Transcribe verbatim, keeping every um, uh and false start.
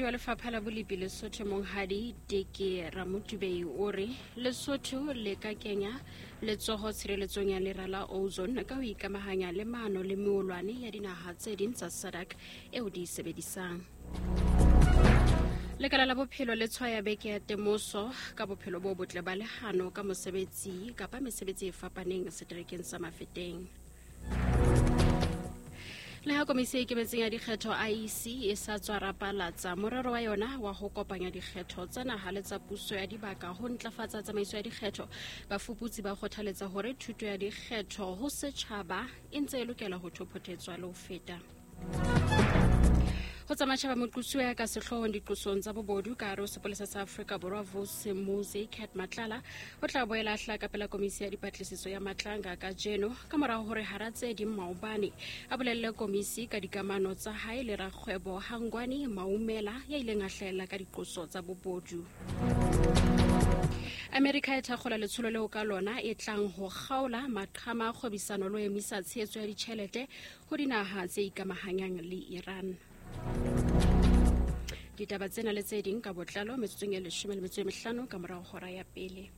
Wa lefapha la bolipi Lesotho Monghadi Teke Ramotubei o re Lesotho le ka kenya letsoho tshireletsong ya lera la ozone ka ho ikamahanya le maano le meolwane ya dinaha tse ding tsa SADC eo di e sebedisang. Lekala la bophelo le tshwaya beke ya temoso ka bophelo bo botle ba lehano ka mosebetsi kapa mesebetsi e fapaneng seterekeng sa Mafeteng. Le ha komisi e ikemetseng ya dikgetho I E C e sa tswa rapalatsa morero wa yona wa ho kopanya dikgetho tsa naha le tsa puso ya dibaka ho ntlafatsa tsamaiso ya dikgetho, bafuputsi ba kgothaletsa hore thuto ya dikgetho ho setjhaba e ntse e lokela ho thopothetswa le ho feta. Ho tsa matjhaba, moqosuwa ya ka sehloohong diqosong tsa bobodu ka hare ho sepolesa sa Afrika Borwa Vusimuzi Cat Matlala o tla boela a hlaha ka pela komisi ya dipatlisiso ya Matlanga kajeno ka morao hore hara tse ding maobane a bolelle komisi ka dikamano tsa hae le rakgwebo Hangwani Maumela ya ileng a hlahella ka diqoso tsa bobodu. Amerika e thakgola letsholo leo ka lona e tlang ho kgaola maqhama a kgwebisano le ho emisa tshehetso ya ditjhelete ho dinaha tse ikamahanyang le Iran. Ditaba tsena le tse ding ka botlalo metsotsong e leshome le metso e mehlano ka morao hora ya pele.